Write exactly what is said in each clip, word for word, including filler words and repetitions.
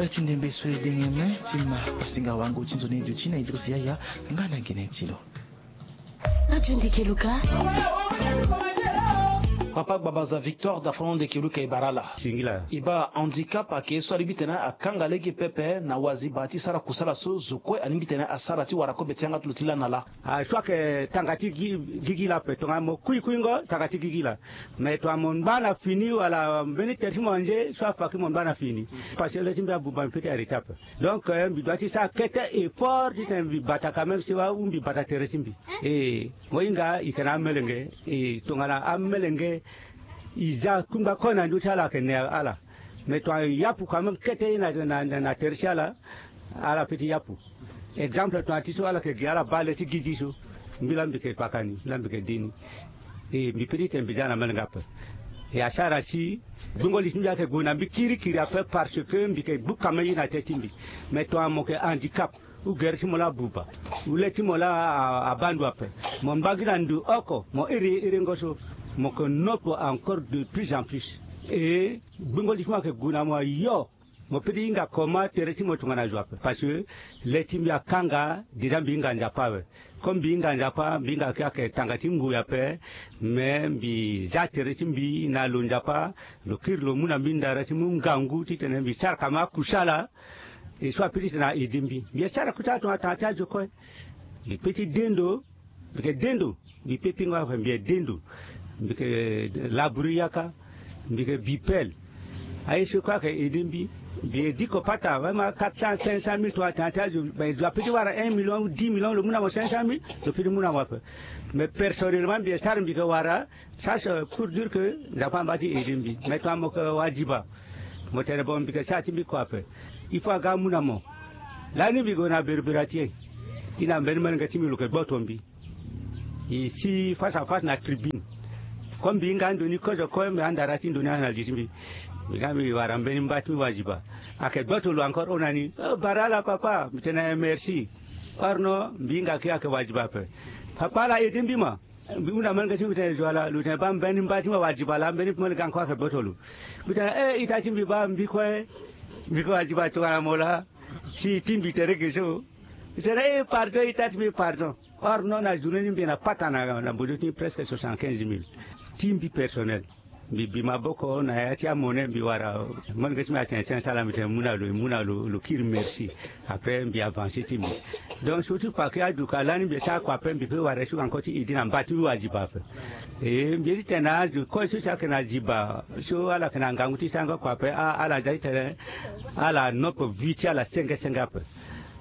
Ti ndembe so e denge me ti ma pasinga wango ti nzoni duti na Idriss Yaya nga na gene ti lo. Radio Ndeke Luka. Papa Gbabaza Victor da fano Ndeke Luka e bara ala. Singila. E baa handicap ayeke ye so alingbi tene akanga lege pepe na waziba ti sara kusala so zo kue alingbi tene asara ti wara kobe ti yanga ti lo ti lani na laa. Ah, so ayeke tanga ti gi- gigi laa ape tongana mo kui kuingo tanga ti gigi laa. Mais tongana mo ngba na fini wala mbeni tere ti mo anze so afa ki mo ngba na fini. Parce que le ti mbi abuba mbi peut ti arrêter ape. Donc eh, mbi doit ti sara kete effort titene mbi bata quand même siwa ou mbi bata tere ti mbi. E mo hinga e yeke na amelenge. E tongana amelenge e za kungba kue na ndö ti ala ayeke ne ala. Mais tongana e yapu quand même kete ye na, na, na, na tere ti ala. Ala peut ti yapu. Exemple tongana ti so ala yeke gi ala baa le ti gigi so. Mbi laa mbi yeke kpaka ni, mbi laa mbi yeke de ni. E mbi peut titene mbi za na amelenge ape. E asara si gbungo li ti mbi ayeke gue na mbi kirikiri ape parce que mbi yeke gbu kame ye na tete ti mbi. Mais tongana mo yeke handicap ou gere ti mo laa abuba ou le ti mo laa a- abaa ndo ape, mo ngba gi na ndo oko mo iri iringo so, mo yeke nopo encore de plus en plus. E gbungo li ti mo ayeke gue na mo ayo. Mo peut ti hinga comment tere ti mo tongana zo ape parce que le ti mbi akanga déjà mbi hinga Nzapa awe. Comme mbi hinga Nzapa mbi hinga ki ayeke tanga ti ngoi ape. Mais mbi za tere ti mbi na lo Nzapa, lo kiri lo mu na mbi ndara ti mu ngangu titene mbi sara kama akusala. E so apeut titene a aidé mbi mbi asara kusala tongana tanga ti azo kue. Mbi peut ti de ndo. Mbi yeke de ndo. Mbi pe pingo ape mbi yeke de ndo. Mbi yeke labourer yaka. Mbi yeke bi pelle. Aye so kue ayeke aidé mbi. Mbi yeke diko pata vraiment quatre cent cinq cent mille tongana tanga ti azo. Mais zo apeut ti wara un million ou dix million lo mu na mo cinq cent mille. Lo peut ti mu na mo ape. Mais personnellement mbi yeke sara mbi yeke wara. Ça c'est pour dire que Nzapa amba ti aidé mbi. Mais tongana mo yeke waziba. Mo tene bon mbi yeke sara ti mbi kua ape. Il faut aga amu na mo. Lani mbi gue na berbera ti e. E na mbeni melenge ti mbi lo yeke gboto mbi. E si face à face na tribune. Comme mbi hinga ando ni kozo kue mbi andara ti ndo ni ana li ti mbi. Mbi ga mbi wara mbeni mba ti mbi waziba. Ayeke gboto lo encore hon na ni. Oh, bara ala papa mbi tene merci. Or non mbi hinga ki ayeke waziba ape. Papa ala aidé mbi ma. Mbi hunda mbeni ga ti mbi tene zo ala lo tene baa mbeni mba ti mbi awaziba laa mbeni moni ga nkoi ayeke gboto lo. Mbi tene e ita ti mbi baa mbi kue. Mbi yeke waziba tongana mo laa. Si ti mbi tere ge so. Mbi tene e pardon ita ti mbi pardon. Or non na journée ni mbi yeke na pata na na mbozo ti mbi presque soixante quinze mille. Ti mbi personnel. Mbi bi maboko na ya ti amone mbi wara. Moni ge ti mbi atene cinq cent laa mbi tene mu na lo e mu na lo lo kiri merci. Après mbi avancer ti mbi. Donc so ti fa ke aduka lani mbi sara kua ape mbi pe wara so encore ti aidé na mba ti mbi waziba ape. E mbi ye ti tene na azo kue so si ayeke na ziba so ala yeke na ngangu ti sarango kua ape. Ala za ti tene ala nopo vie ti ala senge senge ape.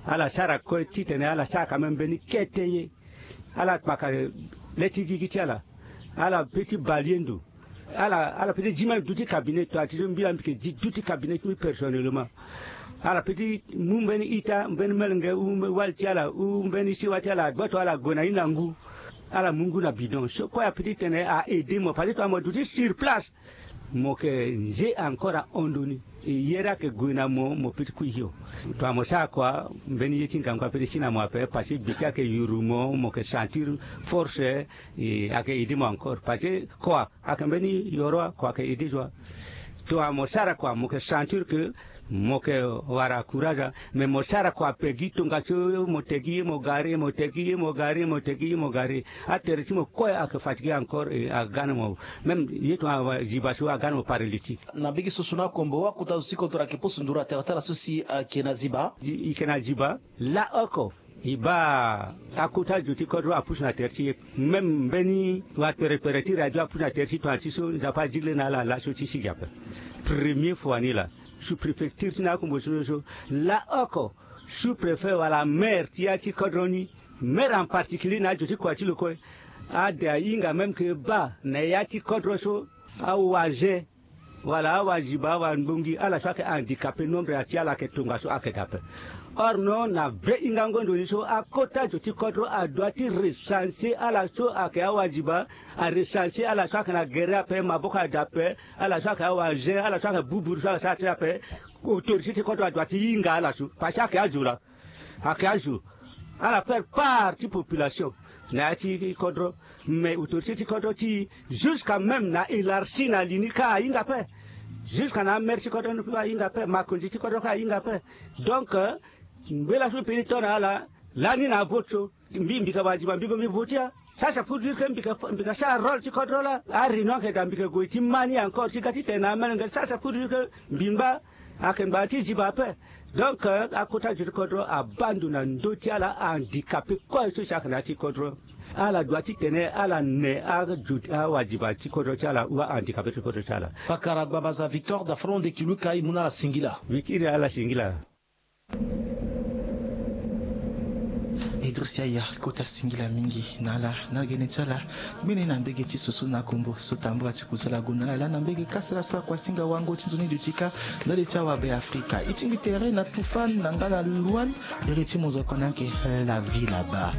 Ala sara kue titene ala sara quand même mbeni kete ye. Ala kpaka le ti gigi ti ala. Ala pe ti bale ye ndo. Ala ala pe ti zi même duti cabinet toi ti so mbi laa mbi yeke zi duti cabinet ti mbi personnellement. Ala pe ti mu mbeni ita mbeni melenge ou wali ti ala ou mbeni siwa ti ala agboto ala gue na ni na ngu. Ala mu ngu na bidon so kue ape ti tene a aidé mo parce que toi mo duti sur place. Mo yeke nze encore ahon ndo ni. E yere ayeke gue na mo mo pe ti kui hio. Tongana mo sara kua mbeni ye ti ngangu ape ti si na mo ape parce que gbe ti ayeke yuru mo mo yeke sentir force. E ayeke aidé mo encore parce que kua ayeke mbeni yoro wa kua ayeke aidé zo wa. Tongana mo sara kua mo yeke sentir que mo yeke wara courage. Mais mo sara kua ape gi tongaso mo tegi ye mo gari mo tegi ye mo gari mo tegi ye mo gari. Atere ti mo kue ayeke fatigué encore e aga na mo. Même ye tongana ziba so aga na mo paralytique. Na mbege so so na akombo akota zo ti kodro ayeke poso nduru atere ti ala so si ayeke na ziba. E yeke na ziba. Laoko e baa akota zo ti kodro apusu na tere ti e. Même mbeni waperekpere ti radio apusu na tere ti tongana ti so Nzapa azigile na ala laso ti sigi ape. Premier fois ni laa sous préfecture ti na akombo so so laoko sous préfet wala maire ti ya ti kodro ni. Maire en particulier na azo ti kua ti lo kue. Ade ahinga même ke baa na ya ti kodro so awaze wala awaziba awangbongi ala so ayeke handicapé nombre ya ti ala ayeke tongaso ayeke daa ape. Or non na ve hingango ndo ni so akota zo ti kodro adoit ti recenser ala so ayeke awaziba. Arecenser ala so ayeke na gere ape maboko ada ape. Ala so ayeke awaze ala so ayeke buburu so ala sara ti ape. Autorité ti kodro adoit ti hinga ala so parce que ayeke azo laa. Ayeke azo ala faire part ti population na ya ti kodro. Mais autorité ti kodro ti jusqu'à même na élargie na li ni ka ahinga ape. Jusque na amere ti kodro ni kue ahinga ape, makonzi ti kodro kue ahinga ape. Donc, mbela so mbi peni to na ala lani na vote so, mbi mbi ka wadiba mbi gue mbi vote ya. Ça c'est pour dire que mbi ka sara rôle ti kodro laa. Aréunion ayeke daa mbi ka gue ti ma ni encore ti ga ti tene na amere ngere. Ça c'est pour dire que mbi ngba, ayeke ngbanga ti ziba ape. Donc, akota zo ti kodro abaa ndo na ndö ti ala ahandicapé kue so si ayeke na ya ti kodro. Ala dua titene ala ne azo ti awadiba ti kodro ti ala ou ahandicapé ti kodro ti ala. Pakara Gbabaza Victor da Fronde Kiluka, e mu na ala singila. Wikiri ala singila. Idriss Yaya, kota singila mingi na ala na gene ti ala. Mbeni na mbege ti soso na kombo so tambula ti kusala gue na ala laa na mbege kasala so akuasinga wango ti nzoni duti kâ. Ndali ti awa Be Afrika e tingbi tere na Tufan na nga na Luan. Ere ti mozoko ni ayeke, eh, la vie là-bas.